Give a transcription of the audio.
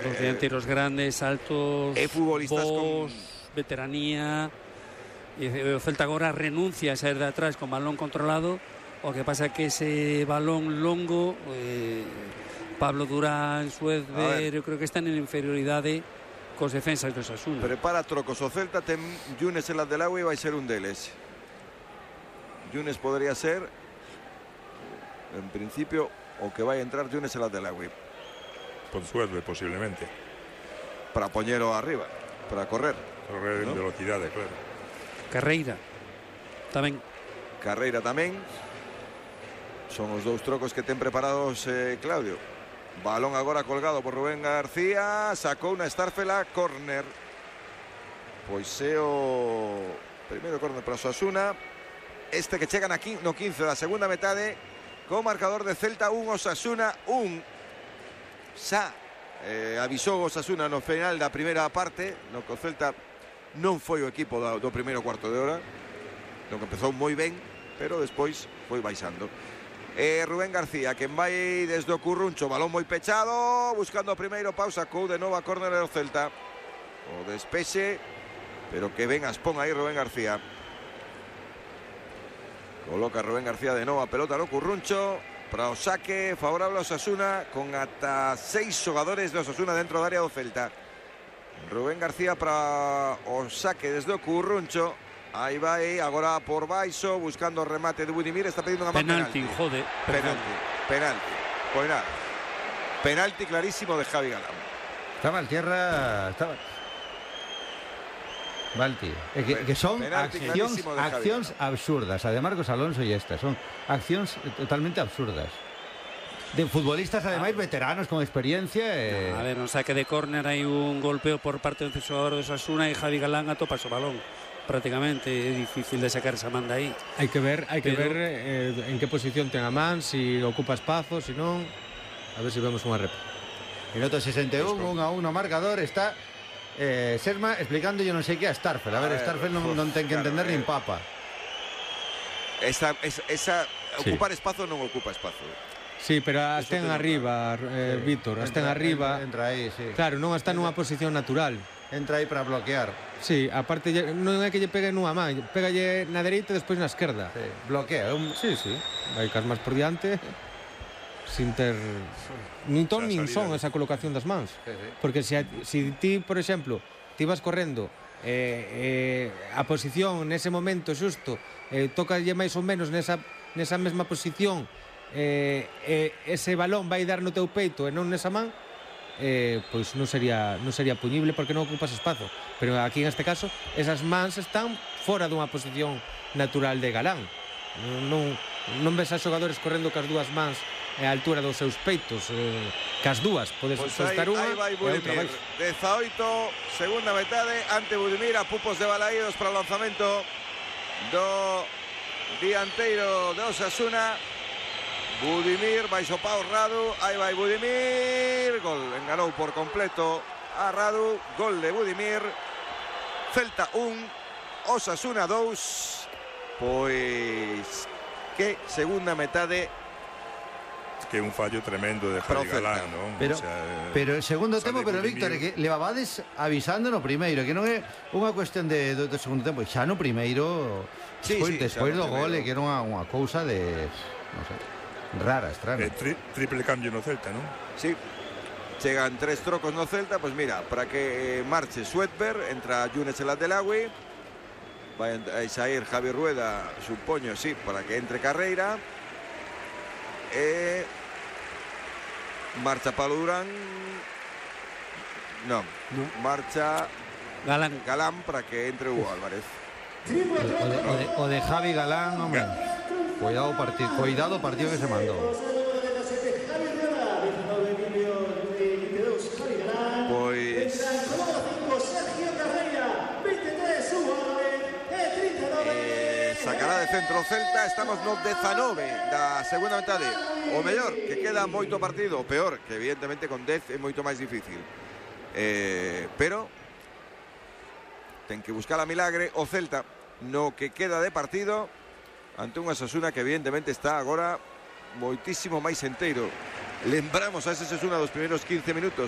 Producían tiros grandes, altos, futbolistas con veteranía. E o Celta agora renuncia a sair de atrás con balón controlado. O que pasa é que ese balón longo, Pablo Durán, Suezber, eu creo que están en inferioridade cos defensas do Osasuna. Prepara trocos o Celta, ten Yunes en Adelawi e vai ser un deles. Yunes podría ser, en principio, o que vai entrar Yunes en Adelawi. Por Suezber, posiblemente. Para poñero arriba, para correr. Correr en velocidade, claro. Carreira tamén. Carreira tamén. Son os dous trocos que ten preparados Claudio. Balón agora colgado por Rubén García. Sacou unha Starfela, córner. Pois é o primeiro córner para Osasuna. Este que chegan aquí no 15 da segunda metade, con marcador de Celta 1, Osasuna 1. Xa avisou Osasuna no final da primeira parte, no que o Celta non foi o equipo do primeiro cuarto de hora, no que empezou moi ben, pero despois foi baixando. Rubén García, quen vai desde o Curruncho, balón moi pechado, buscando o primeiro pau, sacou de novo a córner do Celta. O despexe, pero que ben aspón aí Rubén García. Coloca Rubén García de novo a pelota no Curruncho para o saque favorable a Osasuna, con ata 6 xogadores de Osasuna dentro da área do Celta. Rubén García para o saque desde o Curruncho. Aí vai, agora por baixo, buscando o remate de Budimir. Está pedindo unha penalti, jode. Penalti. Pois nada. Penalti clarísimo de Javi Galán. Estaba al tierra, estaba... Valti, que son accións absurdas. A de Marcos Alonso e estas son accións totalmente absurdas. De futbolistas, ademais, veteranos con experiencia. A ver, no saque de córner hai un golpeo por parte do xogador de Osasuna e Javi Galán atopa o balón. Prácticamente é difícil de sacar esa manda aí. Hai que ver en que posición ten a man, si ocupa espazo, si non. A ver se vemos unha rep. Minuto 61, 1-1 marcador. Está Serma explicando yo non sei que a Starfel. A ver, Starfel non ten que entender nin papa. Esa ocupar espazo non ocupa espazo. Sí, pero as ten arriba, Víctor, as ten arriba. Entra aí, sí. Claro, non está nunha posición natural. Entra aí para bloquear. Sí, aparte non é que lle pegue nunha man, pégalle na dereita e despois na esquerda. Sí, bloquea. Sí. Vai cas máis por diante, sin ter nin ton nin son esa colocación das mans. Sí. Porque se ti, por exemplo, ti vas correndo a posición nese momento xusto, tocalle máis ou menos nesa mesma posición, ese balón vai dar no teu peito e non nesa man, pois non sería puñible porque non ocupas espazo. Pero aquí en este caso esas mans están fora dunha posición natural de Galán. Non ves a xogadores correndo cas dúas mans a altura dos seus peitos, cas dúas podes estar unha e outra máis. 18, segunda metade, ante Budimir, a pupos de Balaídos para o lanzamento do dianteiro de Osasuna. Budimir, baixo pau Radu, aí vai Budimir, gol, enganou por completo a Radu, gol de Budimir. Celta 1, Osasuna 2. Pois que segunda metade, que un fallo tremendo de Javi Galán, non? Pero el segundo tempo, pero Víctor, que levabades avisando no primeiro, que non é unha cuestión do segundo tempo, xa no primeiro, despois do gole, que era unha cousa de, non sei, rara, extraña. Triple cambio no Celta, non? Sí, chegan 3 trocos no Celta. Pois mira, para que marche Suezber, entra Yunes el Adelawi, vai a sair Javi Rueda, supoño, sí, para que entre Carreira, marcha Pablo Durán, non, marcha Galán para que entre Hugo Álvarez. O de Javi Galán, hombre. Cuidado partido que se mandou. Pois sacará de centro o Celta. Estamos no 19 da segunda metade. O mellor, que queda moito partido. O peor, que evidentemente con 10 é moito máis difícil, pero ten que buscar a milagre o Celta no que queda de partido ante unha Osasuna que evidentemente está agora moitísimo máis enteiro. Lembramos a ese Osasuna dos primeiros 15 minutos